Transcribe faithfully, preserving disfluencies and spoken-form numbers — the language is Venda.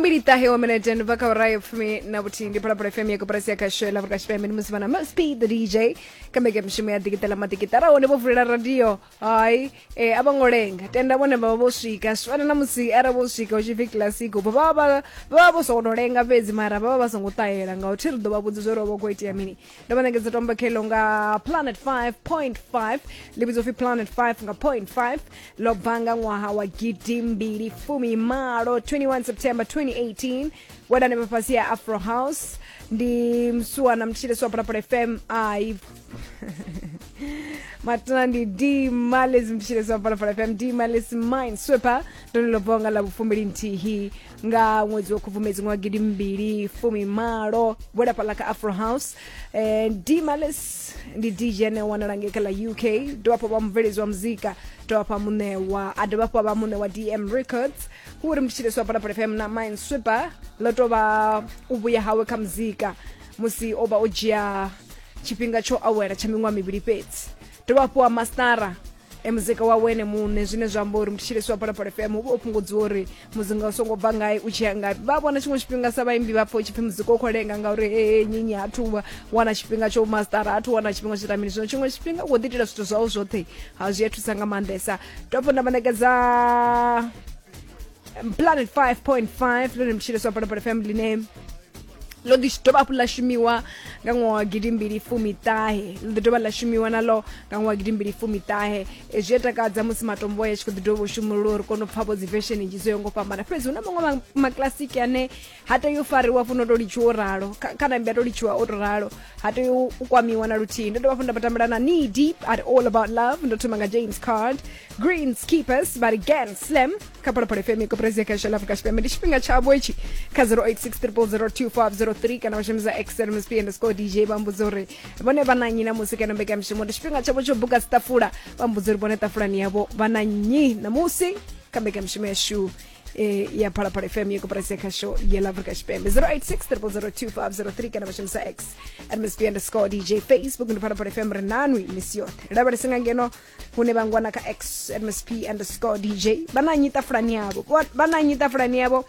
Fumbili ṱahe wa minete ndi bva kha awara ya fumi na vhuthihi. Ndi Phalaphala F M ya koporasi ya khasho ya Afrika Tshipembe. Ndi musi vha na Must Be the D J kha mbekanyamushumo ya Ḓikiṱela Maḓikiṱara. Hone vho vulela radio, hai, eh, a vho ngo lenga, tenda vhone vha vha vho swika. Zwi fana na musi arali vho swika hu tshi pfi classic, vha vha vha vha vho sokou tou lenga fhedzi, mara vha vha vha songo ṱahela ngauri thi ri ḓo vha vhudza zwo ri vha khou itea mini. Ndo vha ṋekedza tombo khelo nga Planet five point five, ḽi vhidzwa upfi Planet five nga point five. Ḽo bva nga ṅwaha wa gidi mbili fumi malo, twenty-one September twenty eighteen. Wela hanefha fhasi ya Afro House. Ndi msuwana mthetshelesi wa Phalaphala F M, ai matana ndi D Males, mthetshelesi wa Phalaphala F M, D Males Mind Sweeper. Ndone ḽo bvaho nga ḽa vhufumbili nthihi nga ṅwedzi wa Khubvumedzi ṅwaha gidi mbili fumi malo, wela fhaḽa kha Afro House. eh, D Males ndi D J ane wanala ngei kha ḽa U K, dovha hafhu vha mubveledzi wa muzika, dovha hafhu muṋe wa a dovha hafhu vha muṋe wa D M Records. Hu uri mthetshelesi wa Phalaphala F M na Mind Sweeper ḽo tou vha u vhuya hawe kha muzika musi o vha o dzhia tshifhinga tsho awela tsha miṅwaha mivhili fhedzi, dovha hafhu wa mastara e muzika wa wene muṋe, zwine zwa amba uri mthetshelesi wa Phalaphala F M hu vha o fhungudziwa uri muzinga u songo bva ngai u tshi ya ngafhi. Vha vhona tshiṅwe tshifhinga sa vhaimbi vha pfa u tshi pfi muzika u khou lenga ngauri he nyinyi ha thu wana tshifhinga tsho mastara, ha thu wana tshifhinga tsho ita mini. Zwino tshiṅwe tshifhinga u khou ḓi itela zwithu zwau zwoṱhe, ha zwi a thusa nga maanḓesa. Dovha nda vha ṋekedza Planet five point five, ḽone mthetshelesi wa Phalaphala F M ḽine ḽo ḓi dovha hafhu ḽa shumiwa nga ṅwaha wa gidi mbili fumi ṱahe, ḽo ḓi dovha ḽa shumiwa naḽo nga ṅwaha wa gidi mbili fumi ṱahe. E, zwi a takadza musi matombo aya tshi khou ḓi dovha u shumululwa uri kone u pfha vho dzi version nnzhi dzo yaho ngo fhambana. Fhedzi hu na maṅwe ma- makilasiki ane ha tei u fariwa funo to litshiwa o ralo. Kha kha nambi a to litshiwa o to ralo, ha tei u u kwamiwa na luthihi. Ndo dovha hafhu nda vha tambela na Knee Deep at All About Love. Ndo thoma nga James Card, Greenskeepers but again Slim kha Phalaphala F M, koporasi ya khasho la Afrika Tshipembe. Ndi tshifhinga tshavho itshi kha zero eight six zero zero zero two five zero three kana vha shumisa X M S P underscore D J, vha mbudza uri vhone vha na nnyi namusi kana mbekanyamushumo. Ndi tshifhinga tshavho tsho buka dziṱafula, vha mbudza uri vhone ṱafulani yavho vha na nnyi namusi kha mbekanyamushumo yashu eh, ya Phalaphala F M ya koporasi ya khasho ya la Afrika Tshipembe, zero eight six zero zero zero two five zero three kana vha shumisa X M S P underscore D J. Facebook ndi Phalaphala F M. Ri nanwi misi yoṱhe, lavhelese nga ngeno hune vha ngwana kha X M S P underscore D J. Vha na nnyi ṱafulani yavho? Vha na nnyi ṱafulani yavho?